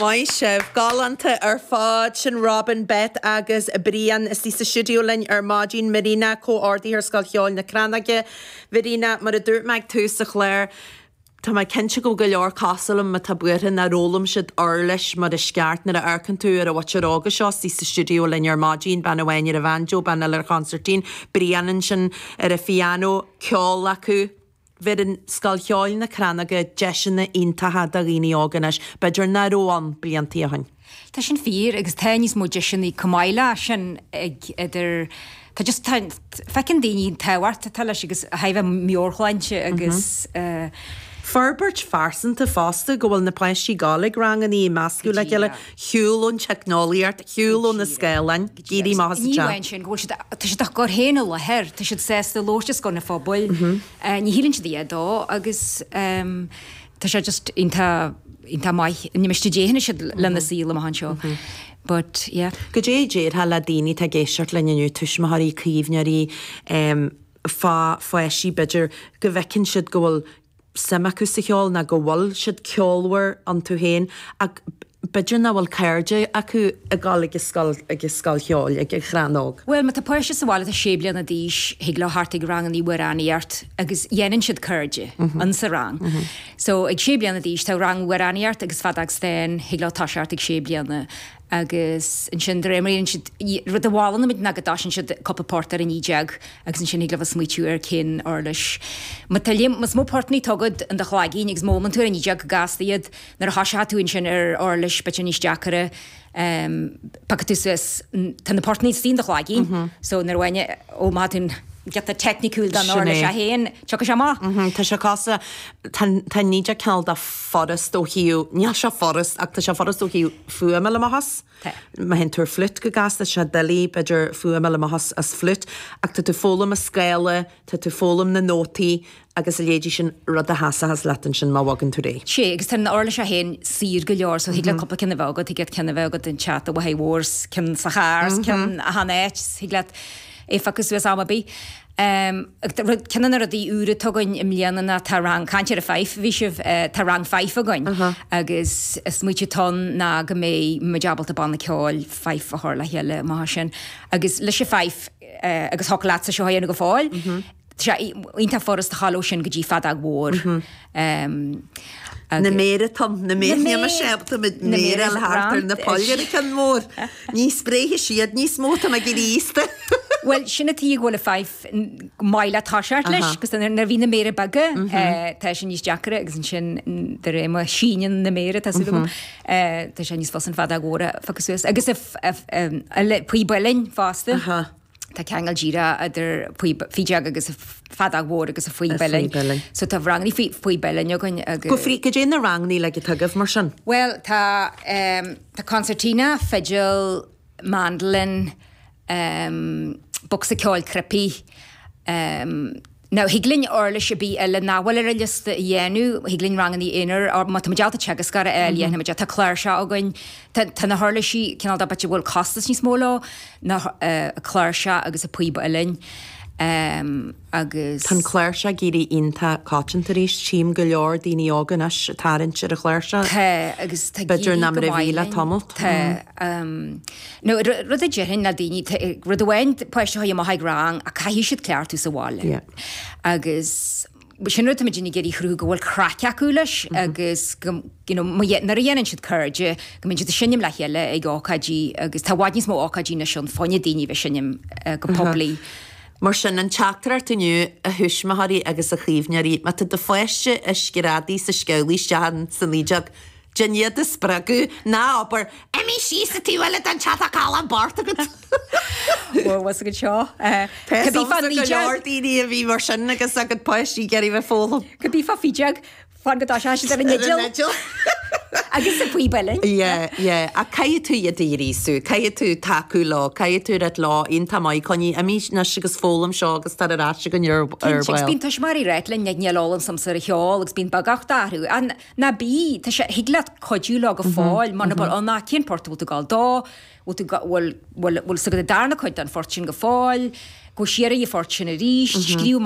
Maith sibh. Galánta ar fad. Sin Robin, Beth agus Brian istigh sa stiúideo linn ar maidin. Marina, Comhordaitheoir Scoil Cheoil na Crannóige. Mharina, mar a dúirt mé ag tús an chláir, tá mé cinnte go bhfuil go leor cosúil liom atá buartha nár fhoghlaim siad uirlis mar is ceart. Nuair a amharcann tú ar an mhuintir óga seo istigh sa stiúideo linn ar maidin, bean amháin ar an bhanjo, bean eile ar chonsairtín, Brian ansin ar an phiano, ceol acu. Bheireann Scoil Cheoil na Crannóige deiseanna iontacha do dhaoine óga anois, b'fhéidir nach raibh ann bliantaí ó shin. Tá sin fíor agus tá níos mó deiseanna chomh maith leis sin ag idir, tá just, tá, feiceann daoine an tábhacht atá leis agus a thaobh meabhairshláinte agus eh. Forbairt phearsanta fosta, go bhfuil na páistí ag gabháil ag rangannaí, ag meascadh le chéile, shiúl ón teicneolaíocht, shiúl ó na scáileáin, ag éirí amach as an Ní amháin sin, go bhfuil siad, tá siad á gcur féin i láthair, tá siad sásta labhairt os comhair an phobail, ní shíleann siad a dhath dó agus tá sé just iontach, iontach maith. Ní miste déanfaidh siad lena saol amach anseo. But, yeah. Goidé a déarfá le daoine atá ag éisteacht linn inniu, tuismitheoirí, caomhnóirí, fá pháistí b'fhéidir go bhfeiceann siad go bhfuil suim acu sa cheol ná go bhfuil siad ceolmhar iontu féin ach b'fhéidir nach bhfuil cairde acu ag dul ag an scoil, ag an scoil cheoil, ag an Chrannóg. Bhuel, má tá páiste sa bhaile atá sé bliana d'aois, thig leo theacht ag rangannaí amhránaíocht agus dhéanann siad cairde in sa rang. So ag sé bliana d'aois tá rang amhránaíocht agus feadóg stáin, thig leo toiseacht ag sé bliana. Agus ansin de réir mar a dhéanann siad, rud a mholann muid ná go dtoisíonn siad cúpla port ar an nideog agus ansin thig leo bheith smaoitiú ar cén uirlis. Má tá líon, más mó portannaí atá agat in do chloigín agus má fhoghlaimíonn tú ar an nideog go gasta iad, nuair a thoiseoidh tú ansin ar uirlis b'fhéidir níos deacaire, piocfaidh tú suas, tá na portannaí istigh in do chloigín, so nuair a bhain, ó má tá tú giota teicniciúil don uirlis é féin, tiocfaidh sé amach. Tá sé cosúil, tá an nideog cineál de furast ó thaobh, níl sé furast ach tá sé furast ó thaobh fuaim a fháil amach as. Tá. Má théann tú ar fliút go gasta, tá sé doiligh, b'fhéidir, fuaim a fháil amach as, as fliút, ach tá tú ag foghlaim an scála, tá tú ag foghlaim na nótaí agus a leithéidí sin, rud a sheasfas leat ansin má bhogann tú ar aghaidh. Sea, agus tá an uirlis é féin saor go leor, so thig leat cúpla ceann a bheith agat, thig leat ceann a bheith agat in teach do mháthair mhór, 's ceann sa charr, 's ceann achan áit, thig leat é a phiocadh suas am ar bith. Ceann de na rudaí úra atá againn i mbliana ná tá rang, caint ar an fife a bhí sibh, tá rang fife againn agus an smaoitiú atá ann ná go mbeidh muid ábalta banna ceoil fife a chur le chéile amach ansin agus leis an fife agus thiocfadh leatsa seo a dhéanamh go fóill, tá sé iontach furast a ghabháil ó sin go dtí feadóg mhór. Na méara Tom, na méara, níl mise ábalta mo mhéara a fháil thart ar na poill ar an cheann mór. Ní spréifidh siad níos mó, tá mé ag éirí aosta. Bhuel, sin an tuige go bhfuil an fife maith le toiseacht leis, agus nuair a bhí na méara beaga, tá sé níos deacaire agus ansin de réir mar síneann na méara, tá súil agam, tá sé níos fusa an feadóg mhór a phiocadh suas. Agus píob uilleann fosta. Tá ceangal díreach idir fideog agus feadóg mhór agus an phíob uilleann. So tá rangannaí phíob uilleann againn agus. Go frí, goidé na rangannaí uilig atá agaibh mar sin? Bhuel, tá, tá concertina, fidil, mandolin, bocsa ceoil cnaipí, Now, thig linn uirlis ar bith eile nach bhfuil ar an liosta a dhéanamh, thig linn rangannaí aonair, or má tá muid ábalta teagascóir a fháil, dhéanfaidh muid é. Tá cláirseach againn, tá, tá na huirlisí cineál de b'fhéidir a bhfuil costas níos mó leo, na, cláirseach agus an píob uilleann, agus. Tá an cláirseach ag éirí iontach coitianta arís, tchím go leor daoine óga anois ag tarraingt ar an chláirseach. Tá, agus tá ag éirí go maith linn. Tamalt. Tá. Now, rud a déarfainn le daoine, rud amháin páiste a chur amach ag rang ach caithfidh siad cleachtadh sa bhaile. Agus sin rud táimid ag iarraidh a chruthú go bhfuil craic acu leis agus go, you know, nuair a dhéanann siad cairde, go mbíonn siad ag seinm le chéile ag ócáidí agus tá i bhfad níos mó ócáidí anois ann fá choinne daoine a bheith ag seinm go poiblí. Mar sin, an teachtaireacht inniu, a thuismitheoirí agus a chaomhnóirí, má tá do pháiste ag screadaigh 's ag sceamhlaigh isteach sa nideog, Déan iad a spreagadh, ná abair, Imigh síos an taobh eile den teach tá callán bocht agat. Bhuel, bhfuil agat seo. Tá fhios agamsa go leor daoine a bhí mar sin agus a gcuid páistí ag iarraidh bheith ag foghlaim. Cibé fá fideog, fan go dtoiseoidh siad ar an fhidil. Agus an phíob uilleann. Yeah, yeah. Ach caithfidh tú iad a ghríosú, caithfidh tú tacú leo, caithfidh tú rá leo, iontach maith, coinnigh, imigh anois agus foghlaim seo agus tar ar ais againn ar ball. Cinnte, agus bíonn tuismitheoirí ag ráit linn, níl eolas a'msa ar an cheol agus bíonn beagucht orthu. Ná bí, tá sé, thig leat cuidiú leo go fóill, muna bhfuil ann ach cén port a bhfuil tú ag gabháil dó, bhfuil tú, bhfuil, bhfuil, bhfuil 's agat an darna cuid den phort sin go fóill, gabh siar ar an phort sin arís, scríobh amach.